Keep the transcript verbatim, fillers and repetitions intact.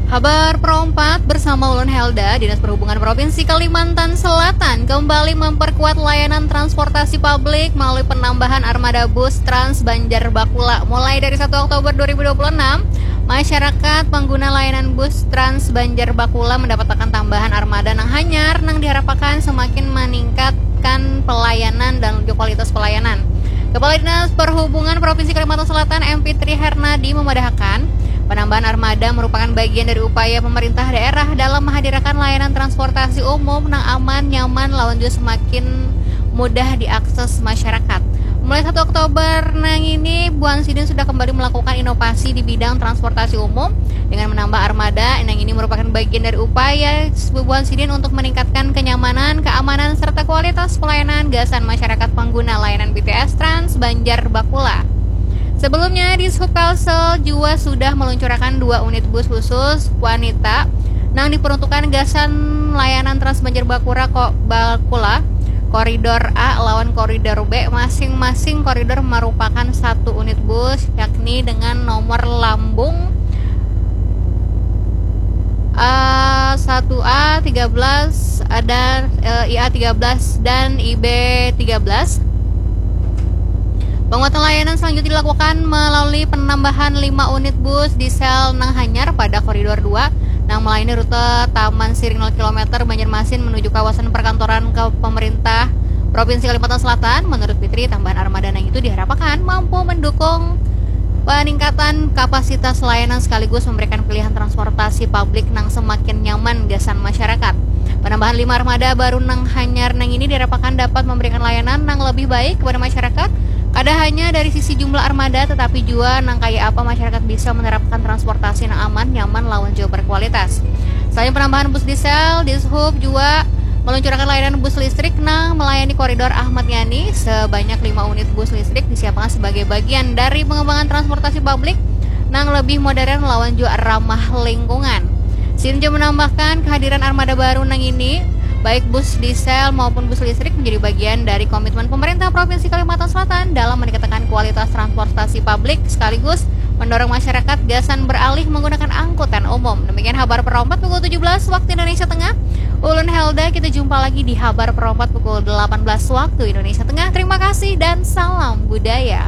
Habar perompat bersama ulun Helda. Dinas Perhubungan Provinsi Kalimantan Selatan kembali memperkuat layanan transportasi publik melalui penambahan armada bus Trans Banjar Bakula. Mulai dari satu Oktober dua ribu dua puluh enam, masyarakat pengguna layanan bus Trans Banjar Bakula mendapatkan tambahan armada nang hanyar nang diharapkan semakin meningkatkan pelayanan dan juga kualitas pelayanan. Kepala Dinas Perhubungan Provinsi Kalimantan Selatan M Fitri Hernadi memadahkan, penambahan armada merupakan bagian dari upaya pemerintah daerah dalam menghadirkan layanan transportasi umum nang aman, nyaman, lawan juga semakin mudah diakses masyarakat. Mulai satu Oktober nang ini, bubuhan sidin sudah kembali melakukan inovasi di bidang transportasi umum dengan menambah armada. Nang ini merupakan bagian dari upaya bubuhan sidin untuk meningkatkan kenyamanan, keamanan, serta kualitas pelayanan gasan masyarakat pengguna layanan B T S Trans Banjar Bakula. Sebelumnya, Dishub Kalsel jua sudah meluncurkan dua unit bus khusus wanita nang diperuntukkan gasan layanan Trans Banjar Bakura ko, Bakula, koridor A lawan koridor B. Masing-masing koridor merupakan satu unit bus, yakni dengan nomor lambung A satu A tiga belas dan, eh, I A tiga belas dan I B tiga belas. Penguatan layanan selanjutnya dilakukan melalui penambahan lima unit bus diesel nang hanyar pada koridor dua nang melayani rute Taman Siring nol kilometer Banjarmasin menuju kawasan perkantoran ke pemerintah Provinsi Kalimantan Selatan. Menurut Fitri, tambahan armada nang itu diharapkan mampu mendukung peningkatan kapasitas layanan sekaligus memberikan pilihan transportasi publik nang semakin nyaman gasan masyarakat. Penambahan lima armada baru nang hanyar nang ini diharapkan dapat memberikan layanan nang lebih baik kepada masyarakat, kada hanya dari sisi jumlah armada, tetapi jua nang kaya apa masyarakat bisa menerapkan transportasi nang aman, nyaman, lawan jua berkualitas. Selain penambahan bus diesel, Dishub jua meluncurkan layanan bus listrik nang melayani koridor Ahmad Yani. Sebanyak lima unit bus listrik disiapkan sebagai bagian dari pengembangan transportasi publik nang lebih modern lawan jua ramah lingkungan. Sidin jua menambahkan, kehadiran armada baru nang ini, baik bus diesel maupun bus listrik, menjadi bagian dari komitmen pemerintah Provinsi Kalimantan Selatan dalam meningkatkan kualitas transportasi publik sekaligus mendorong masyarakat gasan beralih menggunakan angkutan umum. Demikian habar perompat pukul tujuh belas waktu Indonesia Tengah. Ulun Helda, kita jumpa lagi di habar perompat pukul delapan belas waktu Indonesia Tengah. Terima kasih dan salam budaya.